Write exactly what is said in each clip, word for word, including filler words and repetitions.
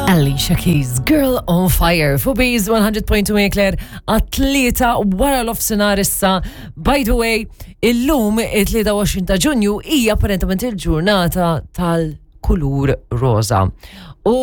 Alicia Keys, Girl on Fire, fuq Bees one hundred point two Eclair, għat-tlieta wara nofsinhar issa. By the way, illum it-tlieta u għoxrin ta' Ġunju hija apparentament il-ġurnata tal-kulur roza. U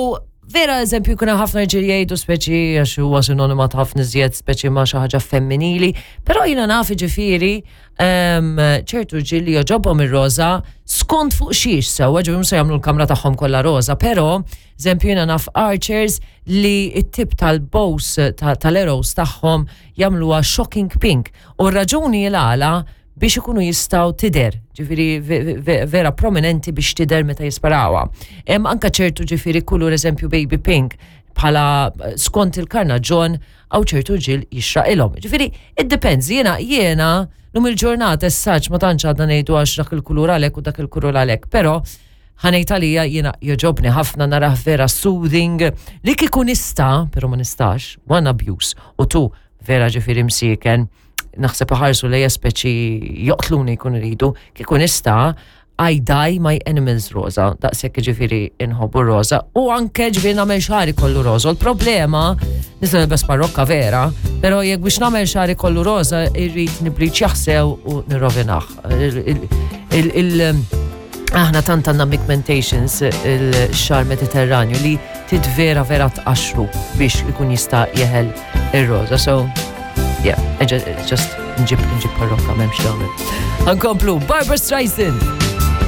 vera, eżempju, kuna ħafna rġiel jgħidu speċi għax huwa sinonima ta' ħafna iżjed speċi ma' xi ħaġa femminili, però jiena naf ġifieri em, ċertu rġiel li jogħġobhom ir-roża skont fuq xiex sewwa, ġifieri mhux se jagħmlu l-kamra tagħhom kollha roża, però eżempju jiena naf archers li t-tip tal-bows tal-arrows tagħhom jagħmluha shocking pink. U r-raġuni l-għala biex ikunu jistgħu tidher, ġifieri vera prominenti biex tidher meta jisparawa. Hemm anka ċertu ġifieri kulur, eżempju baby pink, bħala eh, skont il-karnaġġon għaw ċertu rġiel jixraqilhom. Ġifieri, it depends, jiena jiena lum il-ġurnata essaċ ma tantx għadna ngħidu għax dak il-kulur għalek u dak il-kulur għalek, però ħa ngħid għalija jiena jogħġobni ħafna, narah vera soothing li kieku nista', però ma nistax, one, abuse, u two, vera ġifieri msieken, naħseb ħarsu lejja speċi joqtluni jkun iridu, kieku nista', I dye my animals rosa, daqshekk ġifieri inħobbu rosa, u anke ġifieri nagħmel xagħri kollu rosa. L-problema, nista' nilbes parrokka vera, però jekk biex nagħmel xagħri kollu rosa, irrid nibbliċjah sew u nirrovinah. Il- il- il- Aħna tant għandna pigmentations il-xagħar Mediterranju li tid vera vera tqaxru biex ikun jista' jeħel ir-rosa. So, yeah, I just, just nġib nġib parrokka, m'hemmx tagħmel. Nkomplu, Barbara Streisand.